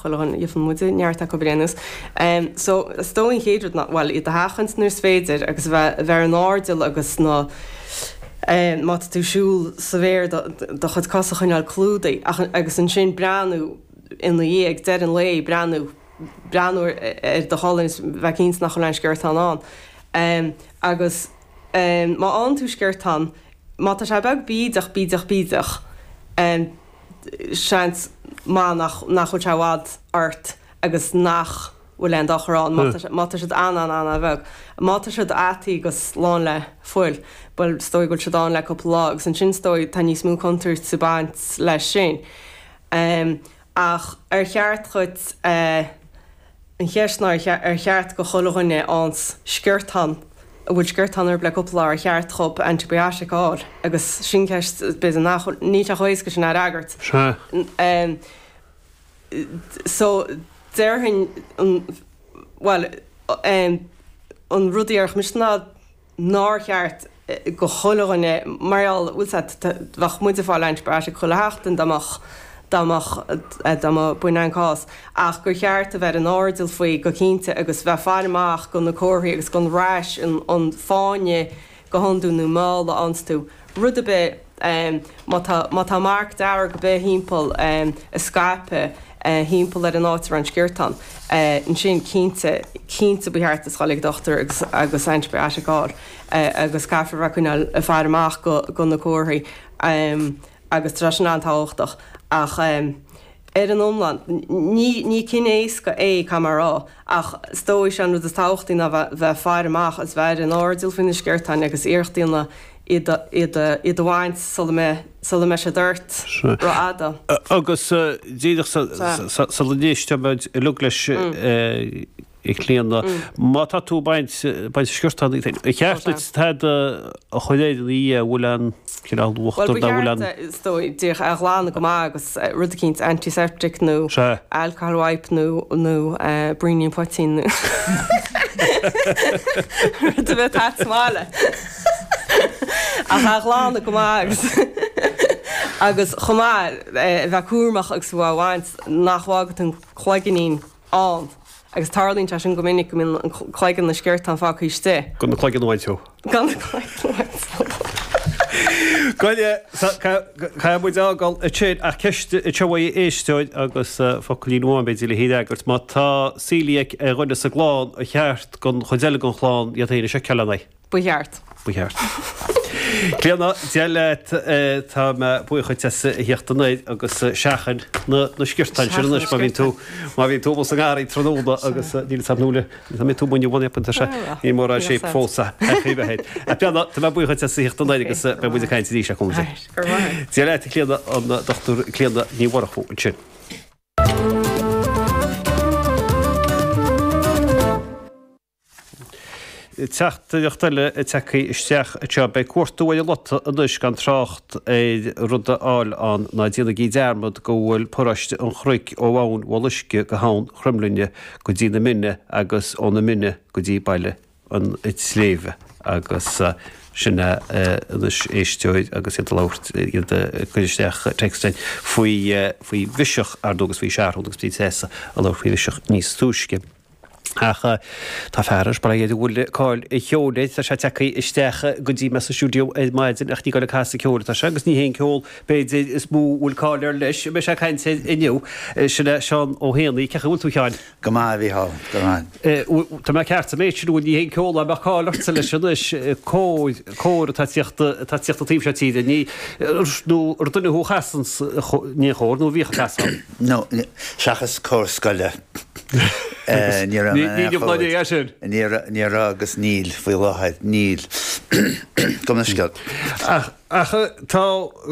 Chuile dhuine, gheobhann muide neart acu ar aon nós. So, is dóigh an chéad rud ná, bhuel, iad a sheachaint nuair is féidir agus a bheith, a bheith ar an airdeall agus na, má tá tú ag siúl sa bhféar do chuid cos a choinneáil clúdaithe ach, agus ansin breathnú ina dhiaidh, ag deireadh an lae, breathnú, breathnú ar do cholainn is bheith cinnte nach bhfuil aon sciortán ann. Agus má fhaigheann tú sciortán, má tá sé beag bídeach, bídeach, bídeach, seans maith nach nach bhfuil sé i bhfad ort agus nach bhfuil aon dochar ann má tá má tá siad an-an-an-bheag. Má tá siad ataithe agus lán le fuil, bhuel is dóigh go bhfuil siad ann le cúpla lá agus ansin is dóigh tá níos mó contúirt ag baint leis sin. Ach ar cheart dhuit An cheist ná ar cheart go chuile dhuine a fhaigheanns sciortán, a bhfuil sciortán orthu le cúpla lá, ar cheart dhób antibiotic a fháil? Agus sin ceist b'fhéidir nach bhfuil, níl sé chomh héasca sin a fhreagairt. Sea. So, déarfainn an, bhuel, an rud a déarfadh mise ná, nár cheart go chuile dhuine, mar gheall, bhfuil 's a'd, bheadh muid ag fáil antibiotic chuile sheachtain dá mbeadh, dá mbeadh, dá mba, b'in an cás, ach gur cheart a bheith ar an airdeall faoi go cinnte agus bheith faire amach go na comharthaí agus gon rash, an, an fáinne go hiondúil nó meall a fhaigheanns tú, rud ar bith, má tá, má tá marc dearg ar bith thimpeall, ag scaipeadh thimpeall ar an áit a raibh an sciortán, ansin cinnte, cinnte ba cheart duit dhul ag dochtúir agus, agus antibiotic a fháil agus caithfear a bheith ag coinneáil ag faire amach go, go na comharthaí agus tá sé sin an-tábhachtach ach ar an iomlán, ní, ní cinneadh éasca é, caithfidh mé a rá, ach is dóigh sé an rud is tábhachtaí ná bheith, bheith ag faire amach agus bheith ar an airdeall faoi na sciortáin agus iarracht a dhéanamh iad a, iad a, iad a bhaint sula mbeidh, sula mbeidh siad ort rófhada. Agus díreach sula n-éistfimid uilig leis a Chlíona, má tá tú ag baint, baint sciortán, ar cheart duit tada a chur air ina dhiaidh, an bhfuil an cineál uachtar nó an bhfuil an. Bhuel, ba cheart, is dóigh, díreach a ghlanadh go maith agus rud eicínt antiseptic nó alcohol wipe nó, nó braoinín poitín nó rud a bheith a'd sa mbaile. Ach a ghlanadh go maith agus agus chomh maith a bheith cúramach agus tú á bhaint nach bhfágfaidh tú an cloiginnín ann agus tarlaíonn sé sin go minic go mbíonn an cloigeann na sciortán fágtha istigh. Gan na cloigeann a bhaint ó. Gan na cloigeann a bhaint ó. Caithfidh muid fhágáil ansin ach ceist anseo uaidh éisteoir agus focailín amháin b'fhéidir le hí a fhreagairt. Má tá celiac ar dhuine sa gclann, ar cheart don chuid eile den chlann iad féin a sheiceáil lena aghaidh? Ba cheart. Ba cheart. Clíona, Dia leat, tá mé buíoch dhuit as a theacht anoir agus seachain na sciortáin sin anois má bhíonn tú, má bhíonn tú amuigh sa ngarraí tráthnóna agus níl 'fhios a'm nó tá mé tú muine bhun tá sé, níl mórán shape fós a chaoi bheith air. Clíona, tá mé buíoch dhuit as a theacht anoir agus beidh muid ag caint arís le cúnamh Dé. Dia leat a Chlíona, an Dr Clíona Ní Mhurchú ansin. Teachtaireacht eile tagtha isteach anseo. Beidh cuartú ar an lota anois gan trácht ar rud a fháil ann. Ná déanaigí dearmad go bhfuil paróiste an Chnoic ó Abhainn Bholuisce go hAbhainn Chroimlinne go dtí na Mine agus ó na Mine go dtí Baile an tSléibhe agus sin é anois éisteoir agus iad ag labhairt, iad ag cur isteach text faoi faoi bhiseach ar ndóigh agus faoi Seathrún agus bhí Treasa ag labhairt faoi bhiseach níos túisce. Ach tá fear ar ball a bhfuil cáil an cheoil air, tá sé tagtha isteach go dtí mé sa stiúideo ar maidin ach ní ag dul ag casadh ceoil atá sé agus ní hé an ceol b'fhéidir is mó a bhfuil cáil air leis a mbeidh sé ag caint air inniu. Sin é Seán Ó hÉanaí. Cén chaoi a bhfuil tú a Sheáin? Go maith, a Mhícheál, go maith. Tá mé ceart sa méid sin, bhuel ní hé an ceol a mbeadh cáil ortsa leis anois, cór, cór atá ag tíocht, atá ag tíocht an taobh seo tíre, ní, nó ar duine thú a chasanns in aon chór nó a bhíodh ag casadh? No, seachas cór scoile. Ní raibh mé in aon chór. Ní raibh agus níl faoi láthair. Níl. Gabh mo leithscéal. Ach tá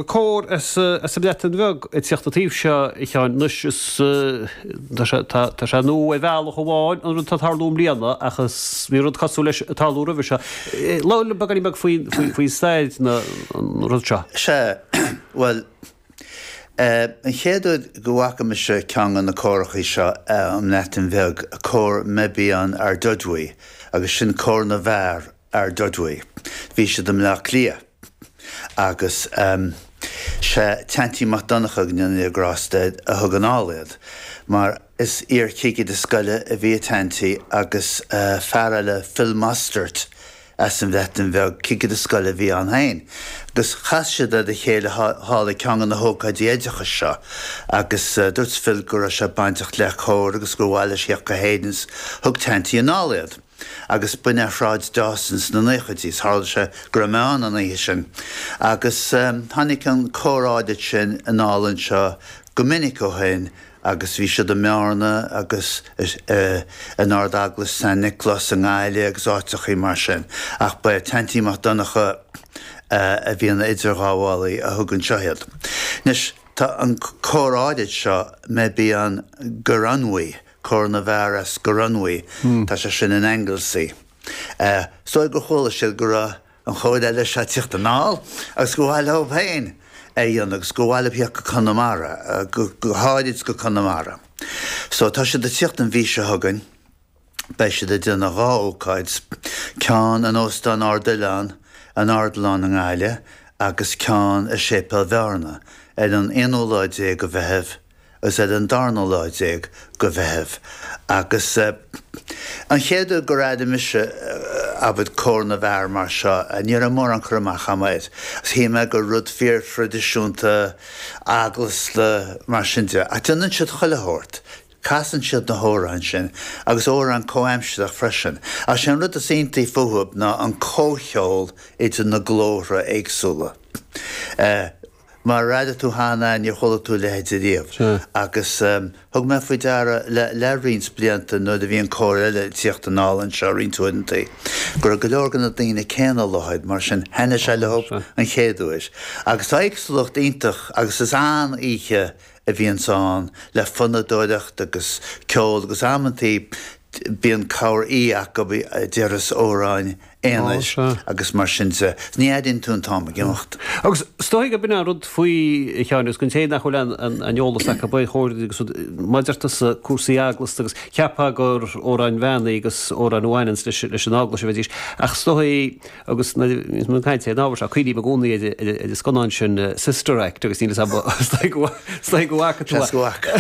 cór as an mBreatain Bheag ag tíocht an taobh seo, a Sheáin. Anois is tá sé nua ar bhealach amháin an rud atá ag tarlú i mbliana ach is bhí rud cosúil leis ag tarlú roimhe seo. Labhair liom beagáinín beag faoi stair an rud seo. Sea, bhuel, An chéad uair go bhfaca mise ceann de na córachaí seo ón mBreatain Bheag, Cór Meibion Ardudwy, agus sin Cór na bhFear Ardudwy, bhí siad i mBleá Cliath agus sé Teaintí Mac Donncha, go ndéana Dia grásta air, a thug anall iad. mar is iar-chigire scoile a bhí i Tanty agus fear eile, Phil Mostert, as an Bhreatain Bheag, cigire scoile a bhí ann féin. Agus chas siad ar a chéile thall ag ceann de na hócáidí oideachais seo agus dúirt Phil go raibh sé bainteach le cór agus gur mhaith leis theacht go hÉirinn is thug Tanty anall iad. Agus b'in ar Shráid Dawson sna naochaidí is tharla sé go raibh mé ann an oíche sin. Agus tháinig an cór áirid sin anall anseo go minic ó shin agus bhí siad i mBearna agus in Ard-Eaglais San Nioclás i nGaillimh agus áiteachaí mar sin. Ach ba é Tanty Mac Donncha a bhí ina idirghabhálaí a thug anseo iad. Anois, tá an cór áirid seo, Meibion Goronwy, Cór na bhFear as Goronwy, tá sé sin in Anglesey. Is dóigh gur chuala siad go raibh an chór eile seo ag tíocht anall agus gur mhaith leo féin é a dhéanamh agus gur mhaith leo theacht go Conamara, go háirid go Conamara. So tá siad ag tíocht an mhí seo chugainn, beidh siad ag déanamh dhá ócáid, ceann in Óstán Ard Oileán, an Ardileán i nGaillimh agus ceann i Séipéal Bhearna ar an aonú lá déag de Mheitheamh agus ar an darna lá déag de Mheitheamh. Agus an chéad uair gur airigh mise, abair, cór na bhfear mar seo, ní raibh mórán cur amach agam air. Agus shíl mé gur rud fíor-thraidisiúnta, eaglasta, mar sin de. Ach déanann siad chuile shórt. Casann siad na hamhráin sin, agus amhráin comhaimsearach freisin. Ach sé an rud is iontaí fúthu ná an comhcheol idir na glórtha éagsúla. Mar a airigh tú cheana, níor chuala tú a leithéid ariamh. Agus thug mé faoi deara le roinnt blianta nuair a bhí an cór eile ag tíocht anall anseo roinnt uaireanta, go raibh go leor de na daoine céanna i láthair, mar sin thaitnigh sé leo an chéad uair. Agus tá éagsúlacht iontach agus is an-oíche a bhíonns ann le fonnadóireacht agus ceol agus amantaí bíonn cabhair aoi acu a déarfas amhráin aonair agus mar sin de. Ní airíonn tú an t-am ag imeacht. Agus is dóigh gurb in an rud faoi, a Sheáin, agus don té nach bhfuil an eolas acu ar chóir agus mar a deir tusa cúrsaí eaglasta agus cheapfá gur amhráin mheánaí agus amhráin a bhaineanns leis an eaglais a bheidís ach is dóigh agus nuair a bhíonns muid ag caint ar an ábhar seo cuimhním i gcónaí ar an scannán sin Sister Act agus níl 'fhios a'm is dóigh go bhfaca tú é. Seans go bhfaca.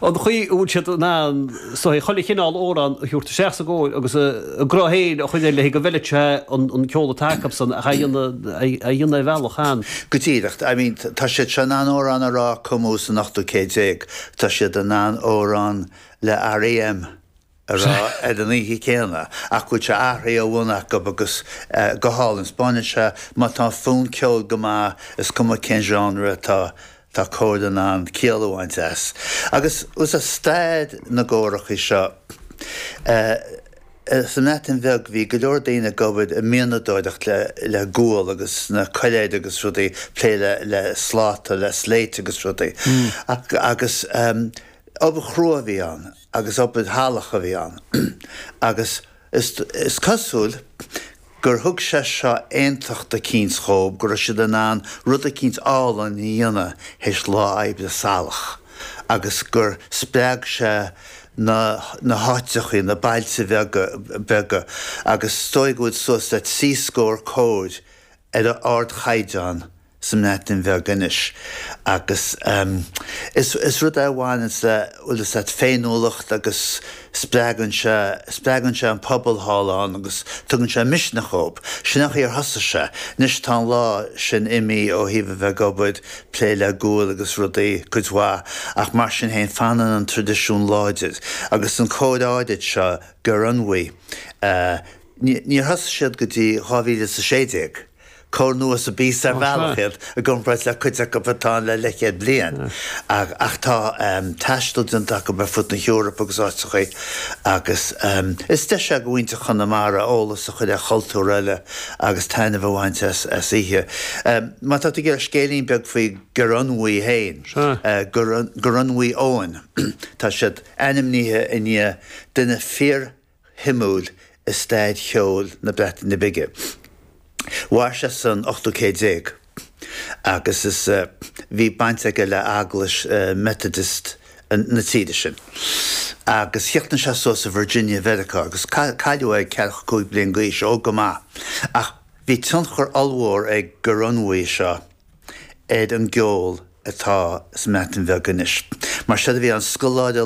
An chaoi a bhfuil siad in ann is dóigh chuile chineál amhrán a thabhairt isteach sa gcór agus a gcruth féin a chur air le go bhfeilfeadh sé an ceol atá acusan ach é a dhéanamh ar bhealach an. Go díreach. I mean tá siad seo in ann amhrán a rá a cumadh san ochtú céad déag. Tá siad in ann amhrán le R.E.M. a rá ar an oíche chéanna ach go bhfuil sé athraithe ó bhun acu agus go hálainn. 'Spáineann sé má tá an fonn ceoil go maith is cuma cén genre atá, tá cór in ann ciall a bhaint as. Agus is é stair na gcórachaí seo sa mBreatain Bheag bhí go leor daoine ag obair i mianadóireacht le gual agus sna coiléir agus rudaí, plé le sláta, le slate agus rudaí agus obair chrua a bhí ann. agus obair shalach a bhí ann agus is cosúil gur thug sé seo aontacht eicínt dhóibh, go raibh siad in ann rud eicínt álainn a dhéanamh théis lá oibre salach agus gur spreag sé na na háiteachaí, na bailte bheaga beaga agus is dóigh go bhfuil suas le trí scór cóir ar ardchaighdeán sa mBreatain Bheag anois agus is rud é a bhaineanns le, bhfuil fhios a't, féiniúlacht agus spreagann sé, spreagann sé an pobal thall ann agus tugann sé misneach dhób. Sin an chaoi ar thosaigh sé. Anois tá an lá sin imithe ó thaobh a bheith ag obair, plé le gual agus rudaí, cuid mhaith, ach mar sin féin fanann an traidisiún láidir agus an cór áirid seo, Goronwy, níor thosaigh siad go dtí 2016. Cór nua sa bpíosa ar bhealach iad i gcomparáid le cuid acu atá ann le leathchéad bliain. Ach tá taisteal déanta acu ar fud na hEorpa agus áiteachaí agus is deis é do mhuintir Chonamara eolas a chur ar chultúr eile agus taitneamh a bhaint as oíche. Má tá tú ag iarraidh scéilín beag faoi Goronwy féin, Goronwy Owen, tá siad ainmnithe i ndiaidh duine fíor shuimiúil i stair cheoil na Breataine Bige. Mhair sé san ochtú céad déag agus is bhí baint aige le eaglais Methodist na tíre sin. Agus chríochnaigh sé suas i Virginia Mheiriceá agus cailleadh é ag ceathracha cúig bliain d'aois, óg go maith. Ach bhí tionchar ollmhór ag Goronwy seo ar an gceol atá sa mBreatain Bheag anois. Mar séard a bhí ann, scoláire.